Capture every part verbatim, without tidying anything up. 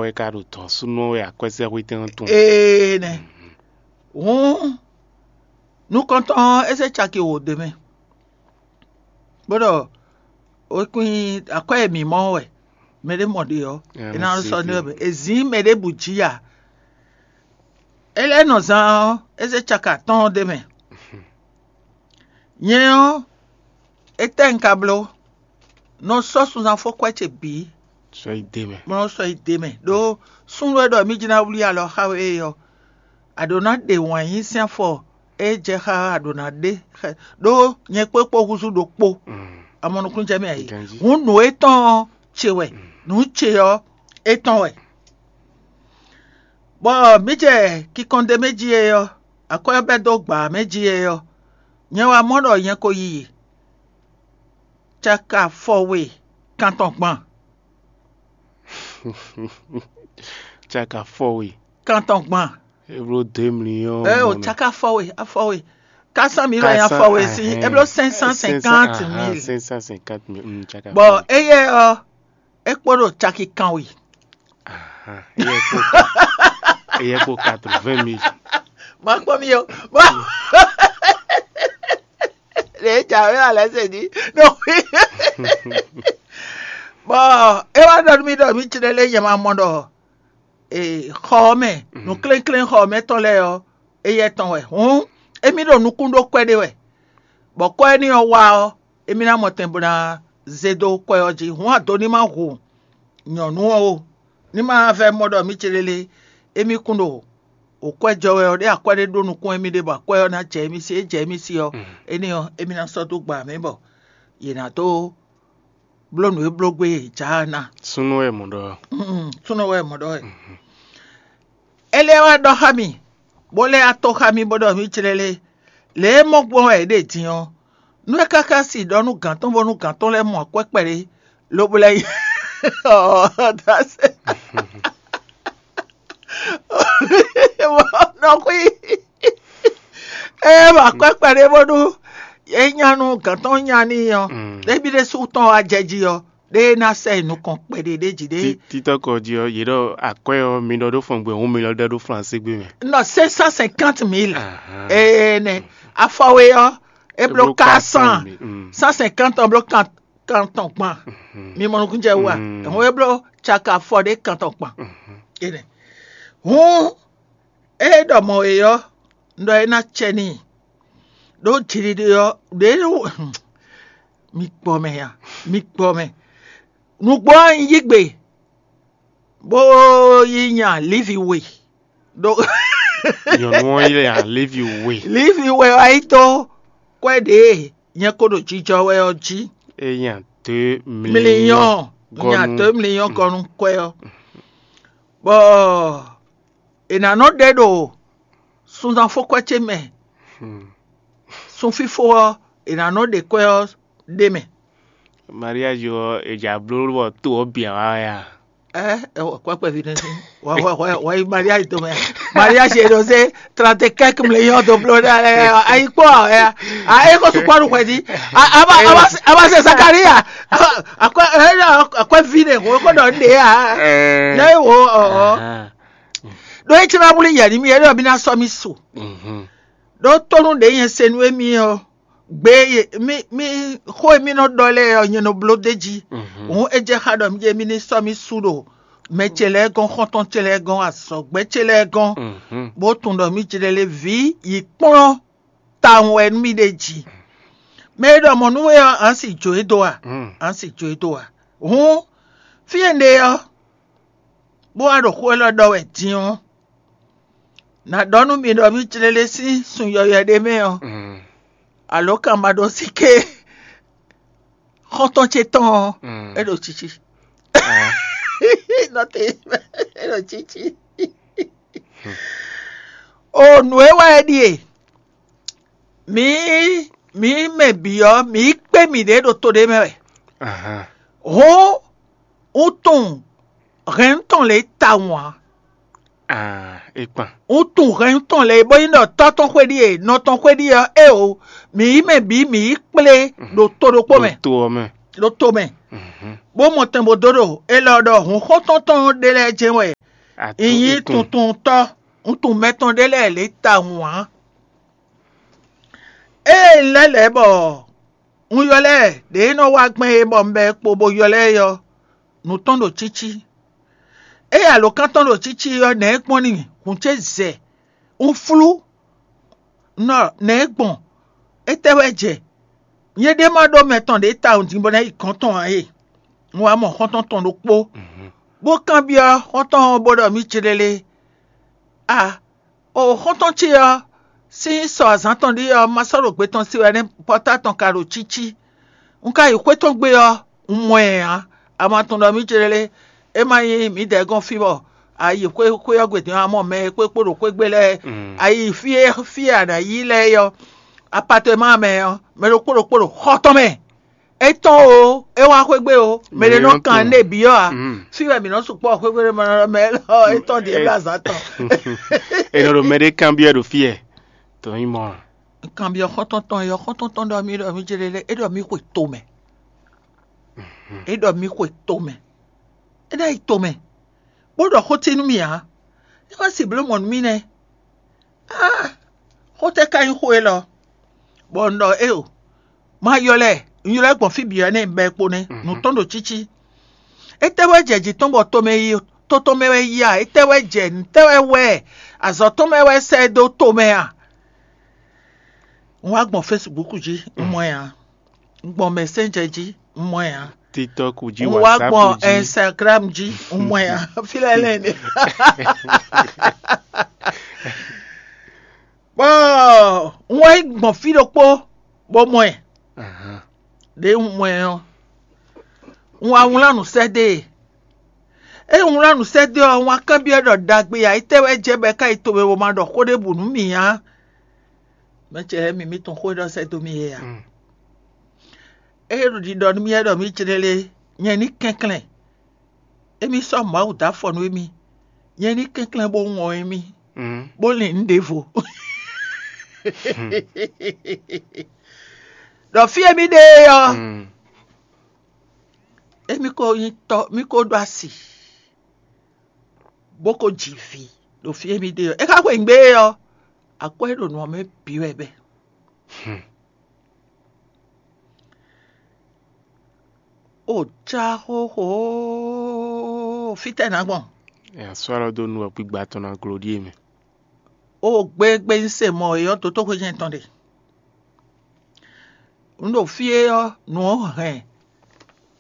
Wɛ ka ɖo dɔ̌n súnnu ɔ́ wɛ akwɛ́sɛ́xwétɛn ɔ́ tunwun. Ee nɛ. Hǔn nukɔntɔn ɔ́, é zé caki wǒ dó mɛ, bó ɖɔ é kún nyí akwɛ́ e mǐ mɔ wɛ mɛɖé mɔ ɖe ɔ́, é ná sɔ́ nú wɛ. È zǐn mɛ ɖěbǔ jí a? É lɛ́ nɔ zán ɔ́, é zé caka atɔ́ɔ́n ɖ'é mɛ. Nyɛ ɔ́, étɛ́ un ka bló? Nɔ sɔ́ sunzán fó kwɛ́ ce bǐ, sɔ́ yi d'é mɛ. Bó nɔ́ sɔ́ yi d'é mɛ. Ɖó súnnu e ɖɔ mí jí ná wlí alɔ xá we é ɔ́, a ɖǒ ná ɖe wǎn yí sín afɔ e jɛ xá a ɖǒ ná ɖe xɛ, ɖó nyɛ kpó kpó húzú ɖokpó. A mɔ nukúnnú jɛ mɛ a yě. Hǔn nǔ étɔn ɔ́ ce wɛ, nǔ ce ɔ́ étɔn wɛ. Bɔ mǐ jɛ kinkɔn ɖ'é mɛ jí é ɔ́, akwɛ́ ɔ́ bɛ́ dó gbǎ mɛ jí é ɔ́, nyɛ wá mɔ ɖɔ nyɛ ko yi caka fɔ we kantɔn gban. Caka fɔ we. Kantɔn gban. Eblo dé mli ɔ́. Ɛ o caka fɔ we, afɔ we. Kásán mi wɛ nyí afɔ we sí, eblo cinq cent cinquante mille. Cinq cent cinquante mille. Bɔ éyɛ́ ɔ́, é kpo ɖo caki kanwe. Éyɛ́ kpo quatre-vingt mille. Ma kpɔ́n mi o. Ɖe jǎwe alɛ se jí. Bɔ é wá ɖɔ nú mì ɖɔ mǐ clé lé nyɛ ma mɔ ɖɔ xɔ ɔ́ mɛ, nǔklénklén xɔ ɔ́ mɛ tɔn lɛ́ɛ ɔ́, éyɛ́ tɔn wɛ. Hǔn émí ɖo nukún ɖó kwɛ́ ɖé wɛ, bɔ kwɛ́ énɛ́ ɔ́ wá ɔ́, émí ná mɔ tɛn bó ná zé dó kwɛ́ ɔ́ jí. Hǔn ado ní ma hu nyɔ̌nu ɔ́ o, ní ma vɛ́ mɔ ɖɔ mǐ clélé émí kún ɖo wǒkwɛ́ jɔ wɛ ɔ́, ɖé akwɛ́ ɖé ɖó nukún émí ɖé bɔ akwɛ́ ɔ́ ná jɛ émí sí. É jɛ émí sí ɔ́, énɛ́ ɔ́, émí ná sɔ́ dó gba mɛ bɔ yě ná dó bló nǔ e bló gbé yě jǎ ná. Súnnu wɛ mɔ ɖɔ. Súnnu wɛ mɔ ɖɔ wɛ. É lɛ́ wá ɖɔ xá mì, bó lɛ́ wá tó xá mì bó ɖɔ mǐ clélé. Lě e mɔ gbɔn wɛ è ɖe din ɔ́, nú é káká si ɖɔ nú gǎn tɔn bónú gǎn tɔn lɛ́ɛ mɔ akwɛ́ kpɛɖé, lobo lɛ́ yi ɔ́ dasɛ. Nɔ xwí ée mɔ akwɛ́ kpɛɖé bónú é nya nú gǎn tɔn nya n'i ɔ́, ɖébi ɖésú tɔn wá jɛ jí ɔ́, ɖé ná sɛ yi nukɔn kpɛɖé ɖé jí ɖé. Títɔ́kɔ jí ɔ́, yě ɖɔ akwɛ́ ɔ́, mi ɖɔ ɖó fɔngbɛ hǔn mi lɔ ɖɔ ɖó Flansé gbé mɛ. Nɔ cinq cent cinquante mille. Ee nɛ, afɔwe ɔ́, é bló quatre cent. Cent cinquante ɔ́ bló kantɔn gban. Mi mɔ nukúnjɛ wú a? Hǔn é bló caka afɔ ɖé kantɔn gban. Ee nɛ. Hǔn é ɖɔ mɔ e ɔ́, un ɖɔ é ná cɛ n'i. Ɖó jiɖiɖe ɔ́, ɖě mi gbɔ mɛ ya, mi gbɔ mɛ. Nǔgbó ɔ́, un yí gbe, bó yí nya Livi we. Ɖó nyɔ̌nu ɔ́ yi lɛ nya Livi we. Livi we wá yi dó kwɛ́ ɖě nyɛ ko ɖo jijɔ wɛ ɔ́ jí. É nya dó Mliyɔn, nya dó mliyɔn gɔ́ nú kwɛ́ ɔ́. Bɔ è nǎ nɔ ɖe ɖo sunzanfókwɛ́ ce mɛ. Sunfífó ɔ́, è nǎ nɔ ɖe kwɛ́ ɔ́ ɖ'é mɛ. Mariage ɔ́, è jǎ bló bɔ to ɔ́ bǐ wá wɛ a? Ɛ, ɛ, kwɛ́ kpɛví nɛ́ sí. Wá, wá, wá, wá yi mariage tɔn mɛ. Mariage e ɖo se trente quelques millions de bló ɖe alɛ. Ayi kpɔ ɛ. A e ko sukpɔ nu xwɛ di. A a ba a ba a ba se Zakaria. Akwɛ ɛ akwɛ vi ne ko ko ɖɔ nɖe a. Lɛ wo ɔ. Ɖo e tina wuli yɛ ni mi yɛ ɖɔ mi na sɔ mi su. Ɖo tonu ɖe yɛn se nu emi ɔ. Gbe e mi mi xó e mi nɔ ɖɔ lɛ́ɛ ɔ́, nyɛ nɔ bló d'é jí. Hǔn é jɛ xá ɖɔ mí ɖe mí ní sɔ́ mì su ɖo mɛ ce lɛ́ɛ gɔ́n, xɔ́ntɔn ce lɛ́ɛ gɔ́n, azɔ̌gbɛ́ ce lɛ́ɛ gɔ́n, bó tunwun ɖɔ mí jlɛ́ lé vǐ yi kplɔ́n tawun wɛ nú mì ɖe jí. Mɛ e ɖɔ mɔ̌ nú we ɔ́, a nǎ si jǒ e dó a? A nǎ si jǒ e dó a? Hǔn fí e un ɖe ɔ́, bó wá ɖo xó élɔ́ ɖɔ wɛ din ɔ́, nǎ ɖɔ nú mi ɖɔ mí jlɛ́ lé sín sun yɔywɛ ɖé mɛ ɔ́, alǒ kan ma ɖó síké xɔ́ntɔn ce tɔn ɔ́, é ɖo cici. Nɔte é ɖo cici. O nǔ e wa é ɖíe, mǐ mǐ mɛ bǐ ɔ́, mǐ kpé mǐɖée ɖo to ɖé mɛ wɛ. Hǔn un tunwun hɛn tɔn lě tawun ǎ. Ah, é kpan. Un tunwun hɛn tɔn lě bó nyí ɖɔ tɔ́ tɔn xwé ɖíe, nɔ tɔn xwé ɖíe ɔ́, éeǒ, mǐ yi mɛ bǐ mǐ yi kplé ɖo to ɖokpó mɛ. Ɖo to ɔ́ mɛ. ɖo tomɛ, bó mɔ tɛn bó dó ɖo élɔ́ ɖɔ hǔn xɔ́ntɔn tɔn ɖé lɛ́ɛ jɛ́n wɛ. Nyí tuntuntɔ́, un tunwun mɛ tɔn ɖé lɛ́ɛ lě tawun ǎ. Ée un lɛ́ lɛ̌ bɔ un ylɔ́ ɛ ɖě e nɔ wá gbɛn é bɔ un bɛ́ ɛ kpo bó ylɔ́ ɛ ɔ́, nǔ tɔn ɖo cící. Ée alǒkan tɔn ɖo cící ɔ́, nɛ̌ gbɔn n'i? Hǔn ce zɛ, un flú. Nɔ nɛ̌ gbɔn? Étɛ́ wɛ jɛ? Nyɛ ɖé ma ɖó mɛ tɔn ɖě tawun din bɔ ná yi gɔ̌n tɔn ǎ e. Un wá mɔ xɔ́ntɔn tɔn ɖokpó, bó kanbyɔ́ xɔ́ntɔn ɔ́ bó ɖɔ mì céɖélé: A, o xɔ́ntɔn ce ɔ́ sín sɔ azǎn tɔn ɖíe ɔ́, ma sɔ́ ɖo gbe tɔn sí wɛ nɛ́, pɔ́tá tɔn ka ɖo cící. Un ka yi xwé tɔn gbe ɔ́, un mɔ ɛ ǎ. A ma tunwun ɖɔ mì céɖélé, é ma nyí mǐdɛɛ gɔ́n fí bɔ a yi xwé xwé ɔ́ gbe din ɔ́, a mɔ mɛ e kpó kpó ɖo xwé gbe lɛ́ɛ. A yi fí e fí e a nǎ yi lɛ́ɛ é ɔ́, apatɛmáa mɛ ɔ́, mɛ ɖokpó ɖokpó ɖo xɔ tɔn mɛ. É tɔn o, é wá xwé gbe o, mɛ ɖé nɔ kan nú é byɔ́ ǎ. Fí wɛ mǐ nɔ sukpɔ́ xwé gbe mɛ mɛ élɔ́ é tɔn ɖíe bló azǎn tɔn. È nɔ ɖo mɛ ɖé kanbyɔ́ ɖo fí ɛ. Tɔn nyí mɔ a? Kanbyɔ́ xɔ́ntɔn tɔn é ɔ́, xɔ́ntɔn tɔn ɖɔ mì ɖɔ mì jɛ lɛ́, é ɖɔ mì xwe tomɛ. É ɖɔ mì xwe tomɛ. É ná yi tomɛ, bó ɖɔ xó ce nú mì ǎ. É wá si bló mɔ̌ nú mì nɛ́. Á, xó tɛ́ ka nyí xó élɔ́? Bɔ un ɖɔ éeǒ, ma ylɔ́ ɛ, un ylɔ́ ɛ gbɔn fí bǐ ɔ́ nɛ́, bɔ é kpo nɛ́. Nǔ tɔn ɖo cící. Étɛ́ wɛ jɛ jǐ tɔn bɔ tomɛ yi, to tɔn mɛ wɛ yi a? Étɛ́ wɛ jɛ, nǔtɛ́ wɛ wɛ? Azɔ̌ tɔn mɛ wɛ sɛ dó tomɛ a? Un wá gbɔn Facebook jí, un mɔ ɛ ǎ. Un gbɔn Messenger jí, un mɔ ɛ ǎ. TikTok jí, un wá gbɔn WhatsApp jí. Instagram jí, un mɔ ɛ ǎ. Fí lɛ́ɛ lɛ́ɛ nɛ. Bɔ un wá yi gbɔn fí ɖokpó bó mɔ ɛ. Ɖěe un mɔ ɛ ɔ́, un wá wlán nǔ sɛ́ dó e. Ée un wlán nǔ sɛ́ dó ɔ́, un wá kanbyɔ́ ɖɔ: Ɖagbe ǎ, étɛ́ wɛ jɛ bɔ é ka yi tomɛ bó ma ɖɔ xó ɖěbǔ nú mì ǎ? Mɛ ce lɛ́ɛ mi, mi tunwun xó e ɖɔ sɛ́ dó mì é a? Ée ɖo ɖiɖɔ nú mì wɛ ɖɔ mì jlé lé, nyɛ ní kɛnklɛ́n. Émí sɔ́ Mawu dó afɔ nú émí, nyɛ ní kɛnklɛ́n bó wɔn émí, bó lin nǔ ɖěvo. Ɖɔ fí e mì ɖe é ɔ́, émí ko nyí tɔ́, mì ko ɖó asi, bó ko ji vǐ ɖo fí e mì ɖe ɔ́. É ka xweyǐgbe é ɔ́, akwɛ́ e ɖo nǔ ɔ́ mɛ bǐ wɛ bɛ́. O já xóxó, fítɛ́ nǎ gbɔn? Nya sɔ́ alɔ dó nú wɛ gbígbá tɔn ná gló ɖíe mɛ. O gbégbé un se mɔ é ɔ́, dotóxwé jɛ́n tɔn ɖe. Un ɖo fí é ɔ́, nǔ ɔ́ hɛn,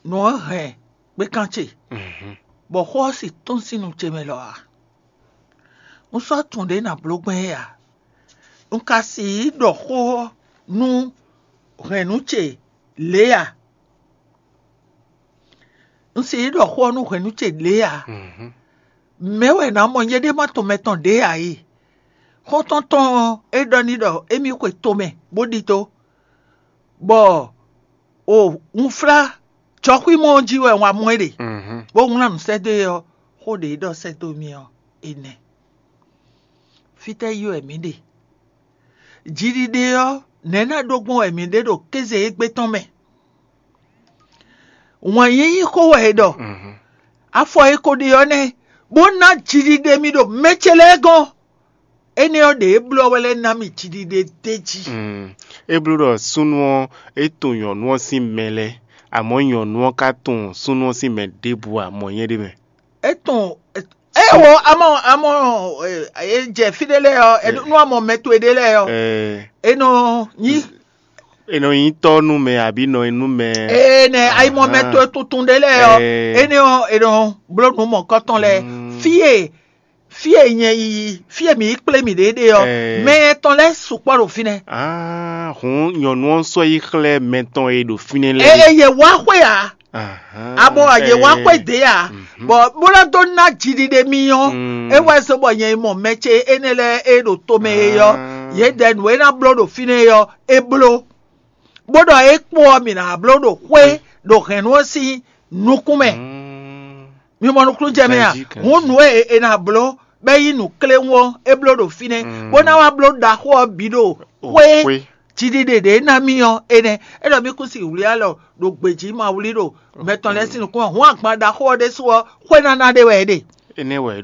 nǔ ɔ́ hɛn gbékan ce, bɔ xó ɔ́ si tɔ́n sín nu ce mɛ lɔ ǎ. Un sɔ́ tunwun ɖě nǎ bló gbɛn é ǎ. Un ka sixú ɖɔ xó ɔ́ nú hɛ̌nnu ce lě ǎ. Un sixú ɖɔ xó ɔ́ nú hɛ̌nnu ce lě ǎ. Mɛ̌ wɛ nǎ mɔ nyɛɖée ma tɔn mɛ tɔn ɖě ǎ e? Xɔ́ntɔn tɔn ɔ́, é ɖɔ n'i ɖɔ émí xwe tomɛ bó ɖidó, bɔ o un flá jɔxwímɔ ɔ́ jí wɛ un wá mɔ é ɖe, bó wlán nǔ sɛ́ dó e ɔ́, xó ɖě e ɖɔ sɛ́ dó mì ɔ́, é nɛ́. Fítɛ́ yi wɛ mǐ ɖe? Jiɖiɖe ɔ́, nɛ̌ ná ɖó gbɔn wɛ mǐ ɖe ɖo kéze égbé tɔn mɛ? Wǎn yíyí xó wɛ è ɖɔ. Afɔ e ko ɖe ɔ́ nɛ́, bó ná jiɖiɖe mì ɖo mɛ ce lɛ́ɛ gɔ́n. Énɛ́ ɔ́, ɖě e bló ɔ́ wɛ lɛ́ ná mì jiɖiɖe d'é jí. É bló ɖɔ súnnu ɔ́, é tunwun nyɔ̌nu ɔ́ sín mɛ lɛ́ɛ, amɔ̌ nyɔ̌nu ɔ́ ka tunwun súnnu ɔ́ sín mɛ ɖěbǔ ǎ, mɔ̌ nyɛ ɖ'é mɛ. É tunwun, é wo amɔ amɔ e jɛ fí ɖé lɛ́ɛ ɔ́, nú amɔ mɛ towe ɖé lɛ́ɛ ɔ́, é nɔ nyí. È nɔ nyí tɔ́ nú mɛ abǐ nɔ nú mɛ. Ee nɛ ayimɔ mɛ towe tuntun ɖé lɛ́ɛ ɔ́, énɛ́ ɔ́, è nɔ bló nǔ mɔ̌kɔtɔn lɛ́ɛ. Fí e fí e nyɛ yi, fí e mǐ yi kplé mǐɖée ɖe ɔ́, mɛ etɔn lɛ́ɛ sukpɔ́ ɖo fínɛ́. Ah, hǔn nyɔ̌nu ɔ́ sɔ́ yi xlɛ́ mɛ tɔn e ɖo fínɛ́ lɛ́ɛ. Eye yě wá xwé ǎ, abɔ yě wá xwé dě ǎ, bɔ bó ná dó ná jiɖiɖe mì ɔ́, é wá zɔ́n bɔ nyɛ yi mɔ mɛ ce énɛ́ lɛ́ɛ e ɖo tomɛ e ɔ́, yě dɛ nǔ e ná bló ɖo fínɛ́ é ɔ́, é bló, bó ɖɔ é kpo ɔ́, mǐ ná bló ɖo xwé ɖo hɛ̌nnu ɔ́ sín nukún mɛ. Mi mɔ nukúnnú jɛ mɛ a? Hǔn nǔ e è nǎ bló bɔ é nyí nǔkléwún ɔ́, é bló ɖo fínɛ́, bó ná wá bló ɖaxó ɔ́ bǐ ɖo xwé. Jiɖiɖe ɖě ná mì ɔ́ énɛ́. É ɖɔ mì kún si wlí alɔ ɖo gbějí ma wlí ɖo mɛ tɔn lɛ́ɛ sín nukún ɔ́, hǔn agban ɖaxó ɔ́ ɖésú ɔ́, xwénáná ɖé wɛ é ɖe. Énɛ́ wɛ é ɖó.